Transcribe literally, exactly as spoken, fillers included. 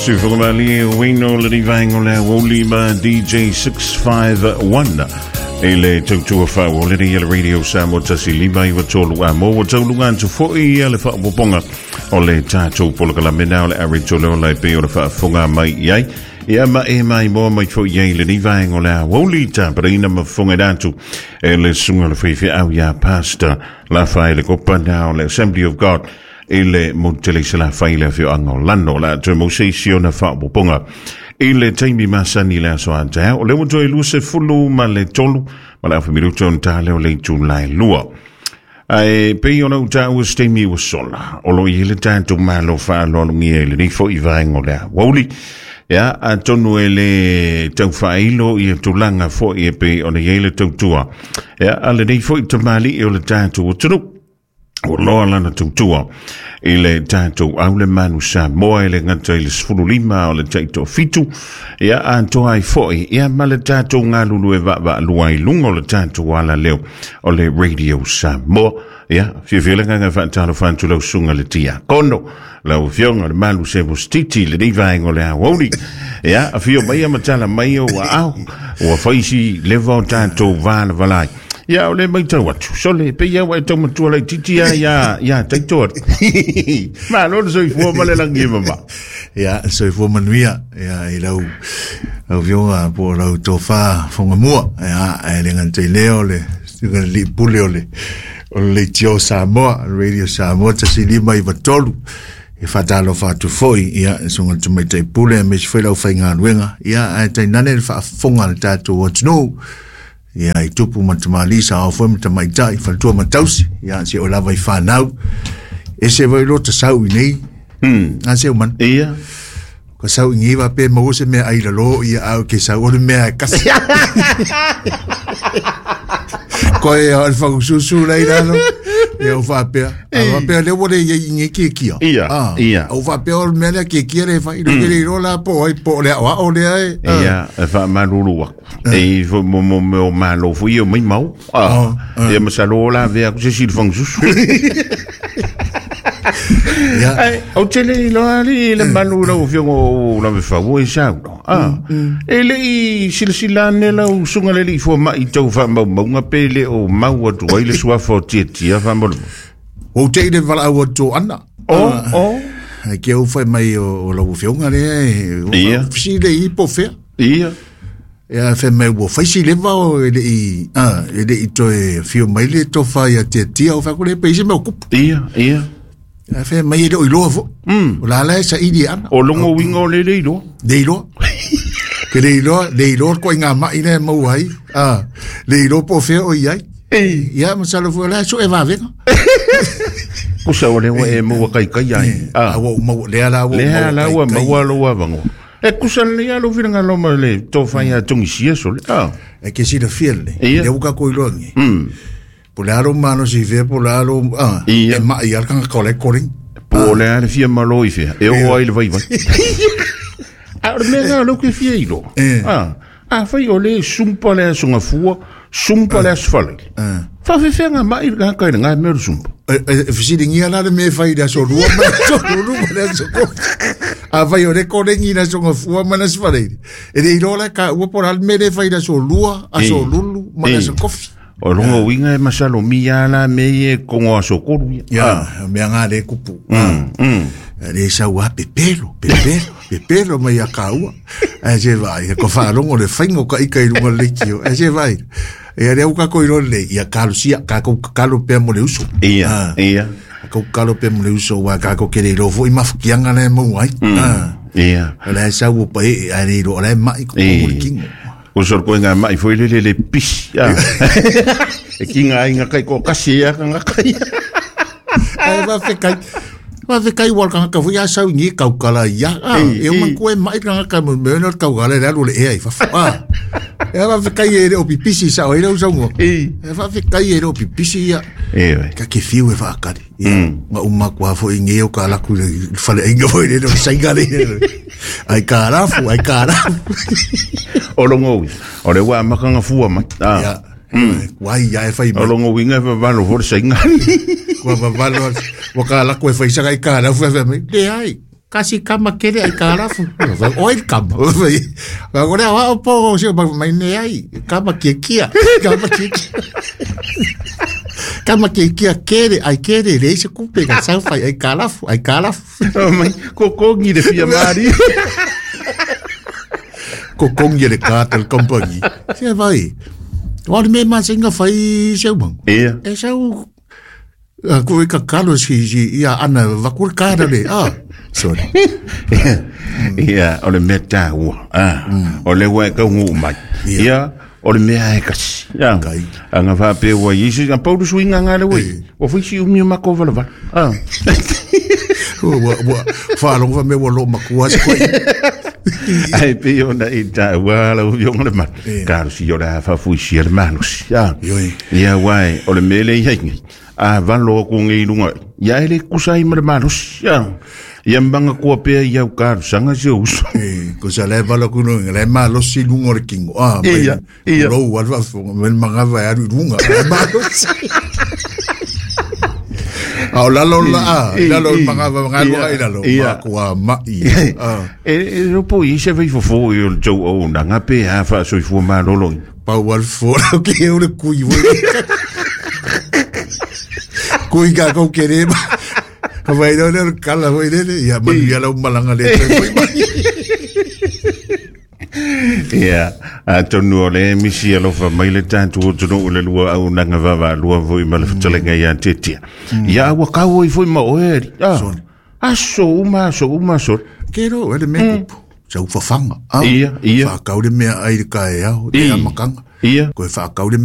Sufugamali Wino le Vango le Wolima D J six five one e le tautua whao le le Radio Samoa tasi lima iwa tolu a mo taulunga atu foi le whaapoponga o le tātou polokalape o le ari tolo le pe o le whaafonga mai iai ia ma e mai mo mai foi iai le nivaengo le awoli tāparina mafonga datu e le sunga le whaiwhi au ia pastor la whai le kopana o le Assembly of God e le motele se la whai le whio anga o lano la te mose si ona whaapoponga i le taimi masani le aso antea o le wato e luse fulu ma le tolu ma le awhamiruto on tā leo le tūlai lua. Ai pe ona uta ua steimi ua sola o lo i le tātou malo whaalolungia i le nifo i vaengo lea wauli. Ia a tonu e le tauwhailo i e tūlanga fo i e pe ona i le tautua. Ia a le nifo i tamali i o le tātou o tunu. O loa lana tautua i le tātou au le manu Samoa i le ngata i le sefulu lima o le taito fitu. Ia a toa i foi ia ma le tātou ngalulu e vaa lua i lunga o le tātou ala leo o le Radio Samoa. Ia fiafia le nganga whaatalo whantu lau sunga le tia kono lau fionga le malu se mostiti le nivaengo le awauli. Ia a fio mai a matala mai o au ua whaisi lewa o tātou vāla valai. Ia o le mai tau atu. Sole, pe ia wa e tau matua lai titi ia ia ia taito atu. Ma lo soifua ma le langi e mama. Ia soifua manuia ia i lau lau fionga po lau tofa fonga mua. Ia e le ngante leo le le pule o le o le tio Samoa, Radio Samoa tasi lima iwa tolu. E whatalo whatu foi, ia, songa te mai te pule, me se whai lau whai ngā ruenga. Ia, ai tainane le whaafonga le tātou atu. Ia, i tupu ma te malisa, au foi ma te maitai, whalatua matausi, ia, se o lava i whanau. E se vai lo te sau i nei. Hmm. A se o man. Ia. Ka sau i ngiwa pe mau se mea ai lalo, ia au ke sau o le mea e kasi. Koe ia o le whakususu lei lalo. Ia o whapea. A whapea le wale ia i nge kia kia. Ia, ia. O whapea o le mea lea kia kia le whai. Le kere iro la po ai po lea o ao lea e. Ia, e whaamalulu aku. E mo mo mo malo fo ia mai mau. Ia masalo la vea ku se si le whangususu. Ia. Ai, o tele i loa li le malu lau fiongo o la mewhau e sau. Ah, e le i silasila ane lau sunga le li fua mai tau wha maunga pe le o mau atu ai le suafa o tia tia wha mau. O te i le wala au atu ana. O, o. Ai ke au whai mai o lau fionga le e. Ia. Si le i po whea. Ia. Ia whai mai ua whaisi lewa o e le i, ah, e le i toe whio mai le tō whai a tia tia o wha kore pe isi mea o kupu. Ia, ia. A whai mai e le o iloa fo. Mm. O la la e sa ili ana. O longo winga o le le iloa. Le iloa. Ke le iloa, le iloa ko i ngā mai le mau ai. Ah, le iloa po whea o iai. Ia, masalo fua la so e wawenga. Kusa o lewa e maua kai kai ai. Ah, ua mau lea la ua lea la ua maua loa vango. E kusa le alo whiranga loma le tō whai a tungi sia sole. Ah. E ke sira fiel le. Ia. Le uka ko iloa nge. Mm. Po le aro mano si fea, po le aro, ah, Ia. e mai al kanga kole koring. Po le ale fia malo i fea, e o ai le vai vai. A o le mea ngā lau ke fia ilo. Ah, a whai o le sumpa le asunga fua, sumpa le asfale. Wha whewhea ngā mai ngā kai ngā mea o sumpa. E, e, whisiri ngia la le mea whai le aso rua, ma aso ruru, ma le aso kofi. A whai o le korengi le aso ngafua, ma le asfale. E le ilo la ka ua po le mea le whai le aso rua, aso rulu, ma le aso kofi. O longo winga e masalo mia la me e kongo aso koru ia. Ia, mea ngā le kupu. Mm, mm. Le sau a pepelo, pepelo, pepelo mai a kaua. A se vai, ko whaarongo le whaingo ka ika i runga le kio. A se vai. Ia le uka ko iro le, ia kalo sia, ka kou kalo pea mo le uso. Ia, ia. Ka kou kalo pea mo le uso, wa ka kou kere iro fo i mafukianga le mau ai. Ia. Le sau o pae, a le iro, le mai ko mo le kingo. O sor koe ngā mai foi le le le pisi. E ki ngā inga kai ko kasi ia ka ngā kai. Ai va whekai. Va whekai wal ka ngaka fui a sau ngi kaukala ia. E o man koe mai ka ngaka mo me no kaukala le alu le ea i fafo. E va whekai e le o pipisi sa o ira usau ngo. E va whekai e le o pipisi ia. E we. Ka ke fiu e whaakari. Nga uma kua fo i ngeo ka laku le whale inga fo i le no sainga le. Ai ka rafu, ai ka rafu. O longo ui. O le wā makanga fua mai. Ia. Wai ia e whai mai. O longo winga e wawalo fo le sainga. Kua wawalo. Waka laku e whai saka i ka rafu e whai mai. Le ai. Kasi kama kere ai kalafu. Oi kama. Ka le wa po se mai ne ai. Kama kia kia. Kama kia kia. Kama kia kia kere ai kere le se kupe ka sau fai ai kalafu ai kalafu. Mai kokongi le fia mari. Kokongi le cartel company. Se vai. Wa me ma singa fai se mo. Ia. E sau ko i ka kalo si si ia ana vakul kara le. Ah. Sorry. Ia, o le mea tāua. Ah, o le ua e kaungu mai. Ia, o le mea e kasi. Ia, anga whapea ua isi, a pauru suinga ngā le wei. O whisi umi o mako wala wala. Ah. Ua, ua, whaalonga me ua lo makua se koe. Ai pe ona i tāua la uvionga le manu. Karusi o le hafafuisi le malosi. Ia, wai, o le mele i hei ngai. A valo ku ngai lunga. Ia ele kusai ma le malosi. Ia. Ia mbanga kua pea i au karu sanga se uso. E, ko sa le vala kuno le malosi lunga o le kingo. Ah, ia, ia. Rou alfa fonga, men mangava e aru lunga. Le malosi. A o lalo la, a, lalo mangava mangava i lalo. Ma kua ma i. E, e ropo i se vei fofo i o le tau au na ngape ha wha soifua malolo. Pau alfo, ke o le kui. Kui ka kau kere ma. Vai no le kala vai le ia manu ia lau malanga le ia atonu o le misi alofa mai le tātu o tunu o le lua au nanga vava lua voi ma le whatalenga ia tetia. Ia ua kau i foi ma oe ari. Aso uma aso uma aso. Kero ele me kupu. Sa uwhawhanga. Ia, ia. Whakau le mea ai le kae au, te amakanga. Ia. Koe whakau le mea